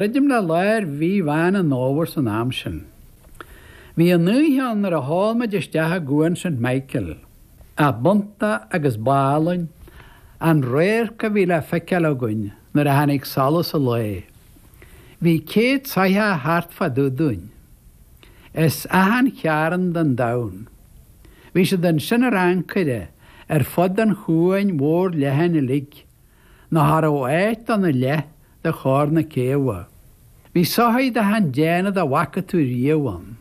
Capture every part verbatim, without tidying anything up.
Druidim le lár mhí Mheán an Fhómhair san am sin. Bhí an oíche ann nuair a sheol muid isteach i gCuan St Michael, ach b'iontach agus b'álainn an radharc a bhí le feiceáil againn nuair a tháinig solas an lae. Bhí céad soitheach thart fá dtaobh dúinn. As achan chearn den domhan. Bhí siad ansin ar ancaire ar fud an chuain mhóir leathain uilig, nó cha raibh áit do na leath de chorr na céibhe. Bhí soithí d'achan déanamh dá bhfaca tú riamh ann.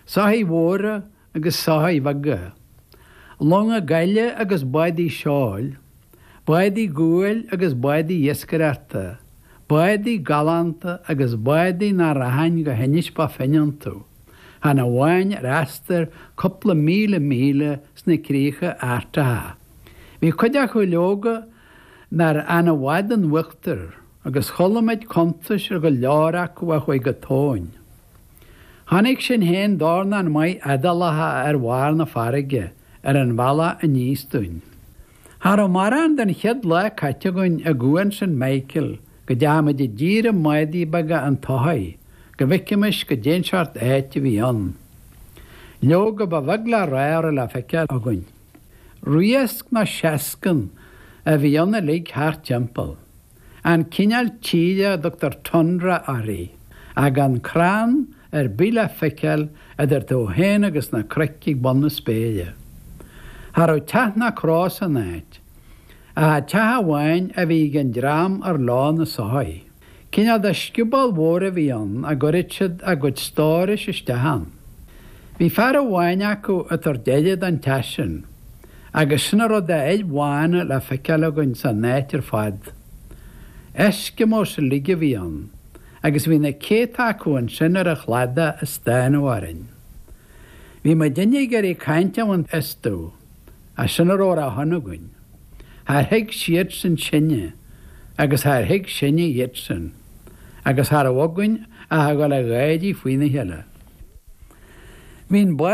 Soithí mhóra agus soithí bheaga. Longa gaile agus bádaí seoil, bádaí guail agus bádaí iascaireachta, bádaí galánta agus bádaí nach rachainn go hInis Bó Finne iontu, chan amháin ar aistear cúpla míle míle sna críocha Artacha. Bhí cuid acu leoga nár fhan i bhfad in uachtar agus chuala muid cuntais ar go leor acu a chuaigh go tóin. Chonaic sinn féin dornán maith Iodálacha ar bharr na farraige ar an bhealach aníos dúinn. Cha raibh mórán den chéad lá caite againn i gCuan St Michael go dteachaigh muid i dtír i mbádaí beaga an tsoithigh go bhfeicfimis goidé an seort áit a bhí ann. Leoga ba bheag le rá a raibh le feiceáil againn. Riasc nó seascann a bhí ann uilig thart timpeall. An cineál tíre a dtugtar tundra uirthi, ach gan crann ar bith le feiceáil idir tú féin agus na cnoic ag bun na spéire. Cha raibh teach ná cró san áit, ach teach amháin a bhí ag an dream ar leo na soithí. Cineál de scioból mhór a bhí ann a gcuireadh siad a gcuid stórais isteach ann. Bhí fear amháin acu ag tabhairt aire don teach sin, agus sin a raibh d'fhir bhána le feiceáil againn san áit ar fad. Eskimos uilig a bhí ann, agus bhí na céadta acu ansin ar an chladach ag stánadh orainn. Bhí muidinne ag iarraidh caint a bhaint astu, ach sin a raibh ar a shon againn. Char thuig siadsan sinne, agus char thuig sinne iadsan, agus cha raibh againn ach a dhul ag gáirí faoina chéile. Bhí an